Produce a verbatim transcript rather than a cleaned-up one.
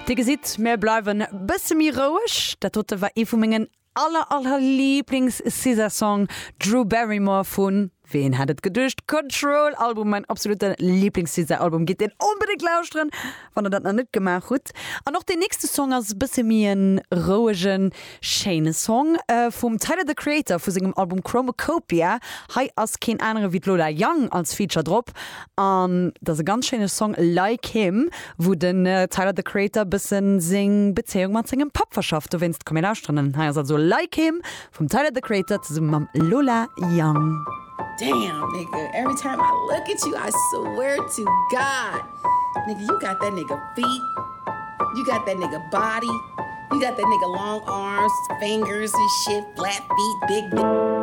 Dir gesitt, mir bleiwen bësse méi roueg. Dat dote war ee vu mengen aller aller Lieblings SZA Song Drew Barrymore vun ween hätt et geduecht Control Album mein absolute Lieblings SZA Album gitt deen onbedéngt lauschteren wann der dat nach net gemaach hutt. An och den nächste Song ass e bësse méi en rouegen schéine Song äh, vum Tyler the Creator vu sengem Album Chromakopia. Hei ass keen anere wéi d'Lola Young als Feature drop an dat ass e ganz schéine Song Like Him wou den äh, Tyler the Creator bëssen seng Bezéiung mat sengem Papp verschafft. Dowéinst komm mir lauschteren. Hei ass also Like Him vum Tyler the Creator zesumme mam Lola Young. Damn, nigga. Every time I look at you, I swear to God. Nigga, you got that nigga feet. You got that nigga body. You got that nigga long arms, fingers and shit, flat feet, big